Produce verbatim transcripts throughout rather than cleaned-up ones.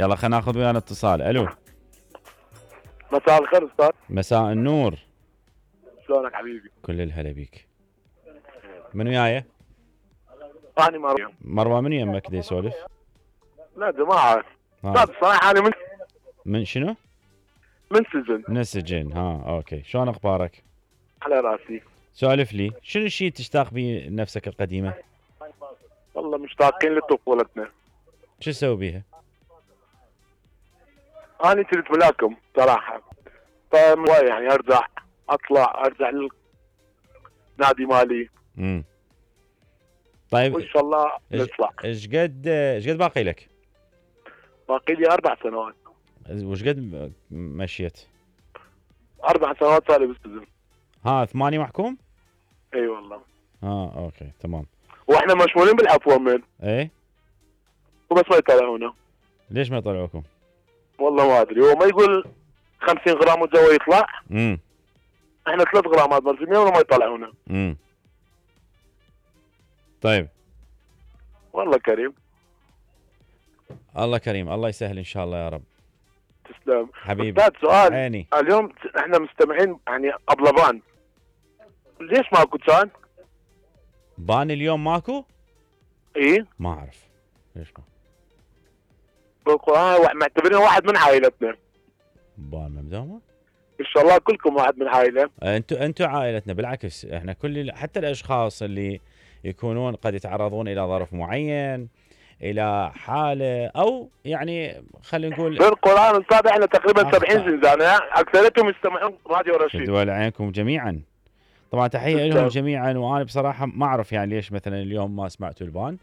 يلا خلينا ناخذ ويانا اتصال. الو مساء الخير استاذ. مساء النور. شلونك حبيبي؟ كل الهلا بيك. من وياي؟ اني مروه. مروه من يمك دي يسولف؟ لا جماعه استاذ صراحه انا من من شنو؟ من سجن. من السجن. ها اوكي، شلون اخبارك؟ على راسي. سولف لي، شنو الشيء تشتاق به نفسك القديمه؟ والله مشتاقين لطفولتنا. شو تسوي بيها؟ انا كنت ملاكم صراحه، فهواي يعني ارجع اطلع ارجع للنادي مالي. امم طيب وان شاء الله نطلع. ايش قد ايش قد باقي لك؟ باقي لي اربع سنوات. وش قد مشيت؟ اربع سنوات صار لي بالسجن. ها ثمانية محكوم؟ اي والله. اه اوكي تمام. واحنا مشمولين بالعفو من ايه وبس ما يطلعونا. ليش ما يطلعوكم؟ والله ما ادري، هو ما يقول خمسين غرام والجو يطلع. امم احنا ثلاث غرامات ملزمين وما يطلعونا. امم طيب والله كريم. الله كريم، الله يسهل ان شاء الله يا رب. تسلم حبيبي. استاذ سؤال عيني. اليوم احنا مستمعين يعني ابلبان، ليش ماكو كان؟ بان اليوم ماكو؟ ايه ما اعرف ليش ما بالقران معتبرين واحد من عائلتنا. بان ممدومه؟ ان شاء الله كلكم واحد من عائله. انتم انتم عائلتنا، بالعكس احنا كل حتى الاشخاص اللي يكونون قد يتعرضون الى ظرف معين، الى حاله او يعني خلينا نقول بالقران استاذ احنا تقريبا سبعين زنزانه اكثريتهم يستمعون راديو رشيد. دول عينكم جميعا. طبعا تحيه لهم جميعا، وانا بصراحه ما اعرف يعني ليش مثلا اليوم ما سمعتوا البان.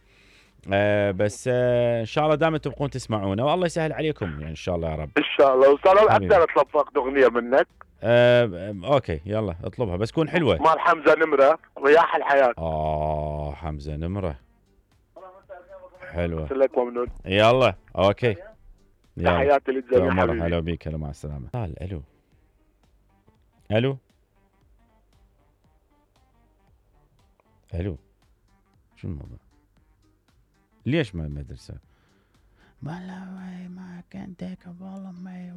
آه بس آه ان شاء الله دائما تبقون تسمعونا والله يسهل عليكم يعني ان شاء الله يا رب. ان شاء الله. استاذ اقدر اطلب فقط اغنيه منك؟ آه اوكي يلا اطلبها بس تكون حلوه. مال حمزه نمره رياح الحياه. اه حمزه نمره حلوه. لك ممنون. يلا اوكي. تحياتي للجميع حبيبي. هلا بيك. هلا مع السلامه. الو الو الو شو الموضوع؟ ليش ما مدرسه؟ ما ما كنت والله ما